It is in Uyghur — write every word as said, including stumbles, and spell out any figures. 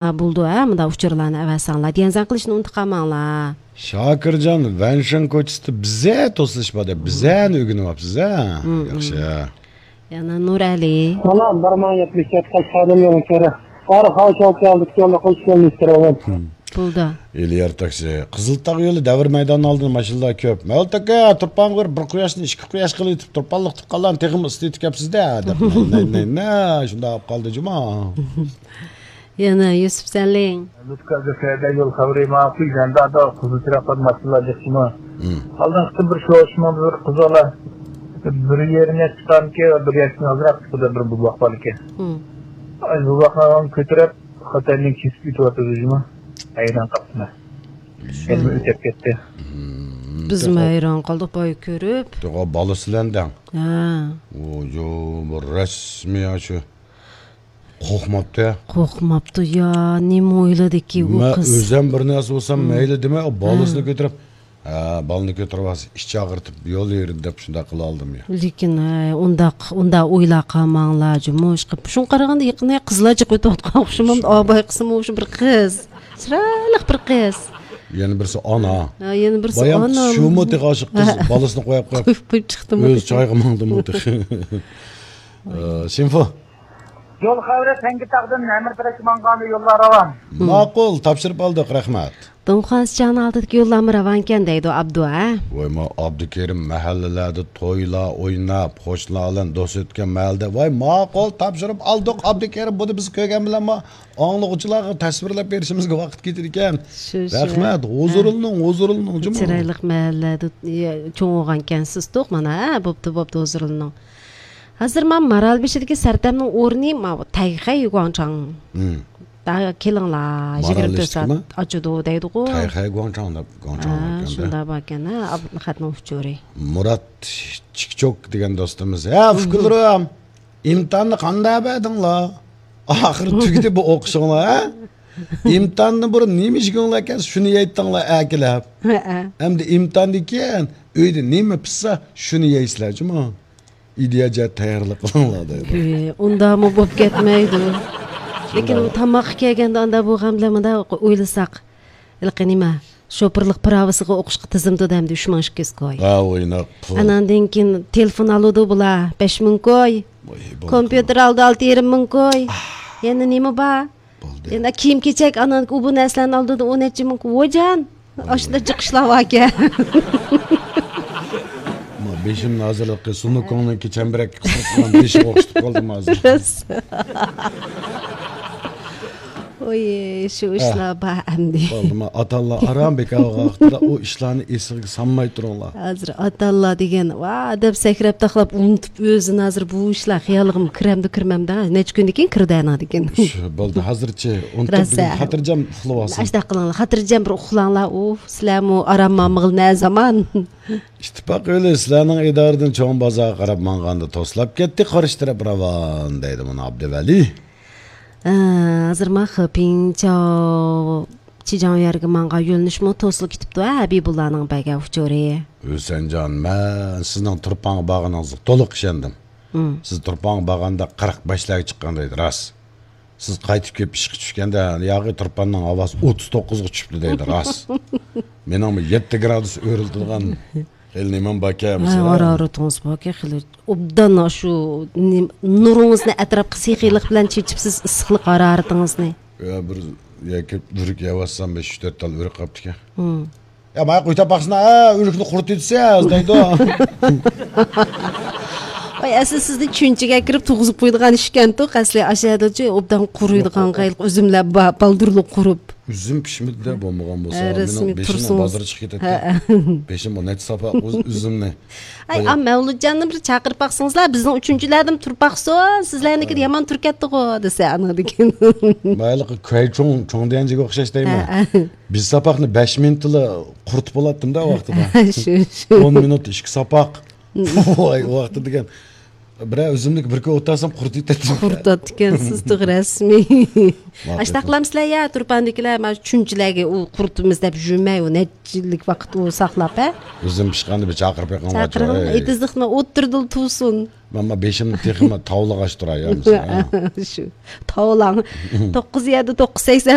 ھە، بولىدۇ، ھە، مۇنداق ئۇچۇرلارنى ئەۋەتسەڭلار. دىيەنزەن قىلىشنى ئۇنتۇپ قالماڭلار. شاكىرجان، ۋەنشېن كوچىسىدا بىزە توسۇلۇش بار دەپ، بىزەنى ئۆگىنىۋاپسىز، ھە؟ مم، ياخشى. مم. يەنە نۇرئەلى. سالام، بىر مىڭ يەتمىش تۆت قەشقەردىن يولۇڭ كېرە. بارخاۋ شاۋكەلدىك يوللۇق ئىشلەرنى ئىستىرەۋەن. مم. بولدى. ئېلىيار تاكسى. قىزىل تاغ يولى دەۋر مەيدانىنىڭ ئالدىدا ماشىنىلار كۆپ. مەۋلۇت ئاكا، تۇرپانغا بىر، بىر قۇياشنى ئىككى قۇياش قىلىۋېتىپ، تۇرپانلىق تۇغقانلارنى تېخىمۇ ئىسسىتىۋېتىپسىز-دە، دەپ. نە، نە، نە، نە، شۇنداق بولۇپ قالدى جۇما. يەنە يۈسۈپ سەلىم. لۇتكا سەدە يول خەۋىرى ماڭا قۇيغاندا، قىزىل چىراغ قىلىپ ماشىنىلار جىقتىمۇ؟ مم. ئالدىنقى بىر شۇ ئىشمۇ بىر قىز بالا، بىر يېرىم ياش چىققانكى، بىر ياشتىن ئازراق چىقىدۇ، بىر بوۋاق بار ئىكەن. مم. ئاي، بوۋاقنى كۆتۈرۈپ، خوتەننى كېسىپ كېتىۋاتىدۇ جۇما. ھەيران قاپتىمەن. شۇ. يەنە ئۆتۈپ كەتتى. مم، بىزمۇ تېخى ھەيران قالدۇق، بايا كۆرۈپ. تېخى بالىسى بىلەن دەڭ. ھە. ئۇ، يو، بۇ رەسمىي شۇ. قورقماپتۇ. قورقماپتۇ يا، نېمە ئويلىدىكى ئۇ قىز؟ مەن ئۆزۈم بىر نەرسە بولسام، مم، مەيلى دېمەي، ئۇ بالىسىنى، ھە، كۆتۈرۈپ، ھە، بالىنى كۆتۈرۈپ ئالسا، ئىچى ئاغرىتىپ يول يۈرىدۇ دەپ شۇنداق قىلالىدىم يا. لېكىن، ھە، ئۇنداق، ئۇنداق ئويلاپ قالماڭلار جۇمۇ. شۇڭا قارىغاندا يېقىندا قىزلار جىق ئۆتۈۋاتقان ئوخشىمامدۇ؟ شۇنداق. ئاباي قىسمۇ شۇ بىر قىز. چىرايلىق بىر قىز. يەنە بىرسى ئانا. ھە، يەنە بىرسى بايام ئانا. شۇمۇ تېخى ئاشۇ قىز، ھە، بالىسىنى قويۇپ، قويۇپ، قويۇپ چىقتىمۇ ئۆزى تېخى. چايغا ماڭدىمۇ تېخى. ئە، سىنفو. يول خەۋىرى، تەڭكىتاغدىن نەمىرتىرەككە ماڭغاندا يوللار راۋان. ماقۇل، تاپشۇرۇپ ئالدۇق، رەھمەت. دۇڭخۇا سىچاڭنىڭ ئالدىدىكى يوللارمۇ راۋانكەن دەيدۇ ئابدۇ، ھە؟ ۋاي، ما ئابدۇكېرىم مەھەللىلەردە تويلار ئويناپ، قوشنىلار بىلەن دوست ئۆتكەن مەھەللىدە. ۋاي، ماقۇل، تاپشۇرۇپ ئالدۇق، ئابدۇكېرىم. بۇنى بىز كۆرگەن بىلەنمۇ ئاڭلىغۇچىلارغا تەسۋىرلەپ بېرىشىمىزگە ۋاقىت كېتىدىكەن. شۇ، شۇ. رەھمەت، ھۇزۇرلىنىڭ، ھە، ھۇزۇرلىنىڭ، جۇمۇ. چىرايلىق مەھەللىدە، يە، چوڭ بولغانكەنسىز توق، مانا، ھە، بوپتۇ، بوپتۇ، ھۇزۇرلىنىڭ. ھازىر مانا مارالبېشىدىكى سەرتەمنىڭ ئورنى ماۋۇ تەيخەي گۇاڭچاڭ. مم. دا كېلىڭلار، يىگىرمە تۆت سائەت ئاچىدۇ دەيدىغۇ. تەيخەي گۇاڭچاڭ دەپ، گۇاڭچاڭ ھە، باركەن-دە. شۇنداق باركەن، ھە، ئابلىخەتنىڭ ئۇچۇرى. مۇرات چىكچوك دېگەن دوستىمىز. ھە، ئۇكىلىرىم، ئىمتىھاننى قانداق بەردىڭلار؟ ئاخىرى تۈگىدى بۇ ئوقۇشۇڭلار، ھە؟ ئىمتىھاندىن بۇرۇن نېمە يېگۈڭلار كەلسە، شۇنى يەيتتىڭلار ئەكېلىپ. ھەئە. ئەمدى ئىمتىھاندىن كېيىن ئۆيدە نېمە پىشسا، شۇنى يەيسىلەر جۇمۇ. ئىدىيە جەھەت تەييارلىق قىلىڭلار دەيدۇ. ئۇنداقمۇ بولۇپ كەتمەيدۇ. لېكىن شۇنداق. تاماققا كەلگەندە ئانداق بولغان بىلەن مۇنداق ئويلىساق، ھېلىقى نېمە، شوپۇرلۇق پىراۋىسىغا ئوقۇشقا تىزىمدۇ دەمدى ئۈچ مىڭ ئىككى يۈز كوي. ھە، ئويناق پۇل. ئاناندىن كېيىن تېلېفون ئالىدۇ بۇلار، بەش مىڭ كوي. ۋاي، بولدى. كومپيۇتېر ئالدى، ئالتە يېرىم مىڭ كوي. ئاھ. يەنە نېمە بار؟ بولدى. يەنە كىيىم-كېچەك، ئانا ئۇ بۇ نەرسىلەرنى ئالدى، ئۇ نەچچە مىڭ كوي. ۋايجان، ئاشۇنداق جىق ئىشلار باركەن. ما بېشىمنى ھازىرلىقى سۇنۇكۇڭنىڭكى چەمبىرەككە قىسىلىپ قالغان بېشىغا ئوخشىتىپ قالدىم ھازىر. راست. ۋوي، شۇ ئىشلار بار ئەمدى. بولدىما، ئاتا-ئانىلار ئاران بىكارغا ۋاقتىدا ئۇ ئىشلارنى ئېسىگە سالماي تۇرۇڭلار. ھازىر ئاتا-ئانىلار دېگەن، ۋا دەپ سەكرەپ تاقلاپ ئۇنتۇپ ئۆزىنى ھازىر بۇ ئىشلار خىيالىغىمۇ كىرەمدۇ كىرمەمدۇ، نەچچە كۈندىن كېيىن كىرىدۇ ئەنىڭدىكىن. شۇ، بولدى، ھازىرچە ئۇنتۇپ بىزنى خاتىرجەم ئۇخلىۋالسۇن. ئاشۇنداق قىلىڭلار، خاتىرجەم بىر ئۇخلاڭلار. ئۇف، سىلەرمۇ ئارام ئالمىغىلى نە زامان. ئىتتىپاق يولى سىلەرنىڭ ئىدارىدىن چوڭ بازارغا قاراپ ماڭغاندا توسلاپ كەتتى، قارشى تەرەپ راۋان، دەيدۇ مانا ئابدۇۋەلى. ئە، ھازىر ما خېپىڭچاۋ چىجاڭ يەرگە ماڭغان يۆنىلىشمۇ توسۇلۇپ كېتىپتۇ، ھە، ھەبىبۇللانىڭ بەرگەن ئۇچۇرى. ھۈسەنجان، مەن سىزنىڭ تۇرپانغا بارغىنىڭىزغا تولۇق ئىشەندىم. مم. سىز تۇرپانغا بارغاندا قىرىق بەشلەرگە چىققان دەيدۇ، راست. سىز قايتىپ كېلىپ ئىشقا چۈشكەندە، ياغى تۇرپاننىڭ ھاۋاسى ئوتتۇز توققۇزغا چۈشۈپتۇ دەيدۇ، راست. مېنىڭمۇ يەتتە گرادۇس ئۆرلىتىلغان خېلى نېمەم باركەن، ھە، مەسىلەن. ھارارىتىڭىز باركەن، خېلى ئوبدان شۇ نېم-، نۇرىڭىزنى ئەتراپقا سېخىيلىق بىلەن چېچىپسىز، ئىسسىقلىق ھارارىتىڭىزنى. يا، بىر يەكە ئۆرۈك يەۋاتسام، بەش، ئۈچ، تۆت تال ئۆرۈك قاپتىكەن. ھىم. يا، مايا قويتاپ باقسىنا، ھە، ئۆرۈكنى قۇرۇتۇۋېتىسىز، دەيدۇ. ۋاي، ئەسلى سىزنى چۈنچىگە كىرىپ تۇغۇزۇپ قويىدىغان ئىشكەنتۇق، ئەسلى ئاشۇ يەردىچۇ ئوبدان قۇرۇيدىغان، ياق، ياق. ھېلىقى ئۈزۈملەر بار، بالدۇرلۇق قۇرۇپ. ئۈزۈم پىشمىدى-دە، بولمىغان بولسا، ھە، مېنىڭ رەسمىي بېشىمنىڭ تۇرسىڭىز. بازىرى چىقىپ كېتەتتى. ھە. بېشىم بۇ نەچچە ساپا ئۈز-، ئۈزۈمنى. ئاي، قويۇپ. ئا، مەۋلۇتجاننى بىر چاقىرىپ باقسىڭىزلا، بىزنىڭ ئۈچىنچىلەردىن تۇرۇپ باقسۇن، سىزلەرنىڭكىدە ھە. يامان تۇرۇپ كەتتىغۇ، دېسە، ئانىڭدىن كېيىن. مايلىقى كۆي چوڭ، چوڭ دېيەنجىگە ئوخشاش دەيمەن. ھە، ھە. بىز ساپاقنى بەش مىنۇتلا قۇرۇتۇپ بولاتتىمدا ۋاقتىدا. شۇ، شۇ. ئون مىنۇت ئىككى ساپاق. ۋاي، ۋاقتى دېگەن. بىرەر ئۈزۈملۈك بىر كۈن ئولتۇرسام قۇرۇتۇۋېتەتتىم. قۇرۇتاتتىكەنسىز، توغرا، رەسمىي. ۋاقىت. ئاشۇنداق قىلامسىلەر يا، تۇرپاندىكىلەر، مانا چۈنچىلەرگە ئۇ قۇرۇتىمىز دەپ يۈرمەي، ئۇ نەچچىلىك ۋاقىت ئۇ ساقلاپ، ھە؟ ئۈزۈم پىشقاندا بىر چاقىرىپ بېقىڭلار، چاقىرىڭ، ھەي. ئېتىزلىقنى ئوتتۇرىدىلا تۇرسۇن. ماما بېشىمنى تېخىمۇ تاۋلىغاچ تۇراي يا، مىسال، ھە. شۇ تاۋلاڭ. توققۇز يەردە توققۇز سەكسەن